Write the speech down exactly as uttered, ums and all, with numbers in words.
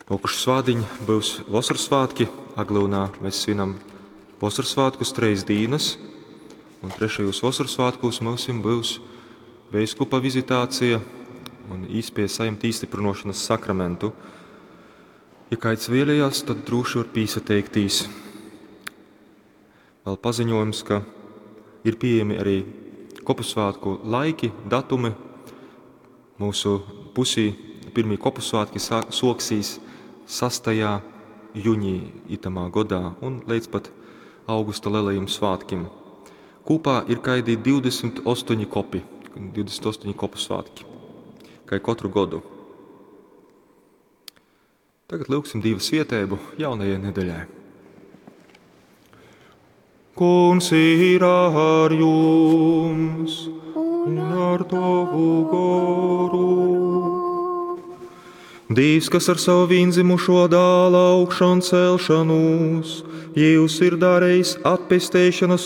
Nokušu svātdiņ byus Vosorsvātki. Aglyunā mēs svinam Vosorsvātkus treis dīnas, un trešajūs Vosorsvātkūs myusim byus veiskupa vizitācija un īspēja saņemt īstiprinošanas sakramentu. Ja kāds vēlējās, tad droši var pīsateiktīs. Vēl paziņojums, ka ir pieejami arī kopusvātku laiki, datumi. Mūsu pusī pirmī kopusvātki soksīs sastajā juņī itamā godā un līdz pat augusta lielajiem svātkim. Kopā ir kaidi divdesmit astoņi kopi, divdesmit astoņi kopu svātki, kā katru godu. Tagad lūgsim Dieva svietēbu jaunajai nedēļai. Kungs ir ar jums un ar tavu goru. Dievs, kas ar savu vienzimušo dāla augšām celšanos, jūs ir darījis atpesteišanas